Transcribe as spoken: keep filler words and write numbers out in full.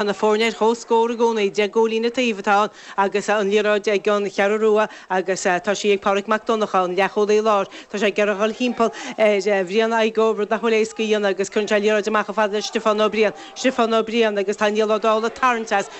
Tá na foirne ar comhscór i gcónaí, deich gcúilín an taobh atá ann agus an liathróid ag an Cheathrú Rua agus tá sí ag Pádraig Mac Donncha, an leathchúlaí láir. Tá sé ag iarraidh dhul thimpeall ar Bhrian Igoe, rud nach bhfuil éasca a dhéanamh agus cuireann sé liathróid amach chomh fada le Stiofán Ó Briain. Stiofán Ó Briain agus tá Niall Ó Dálaigh tarraingthe as.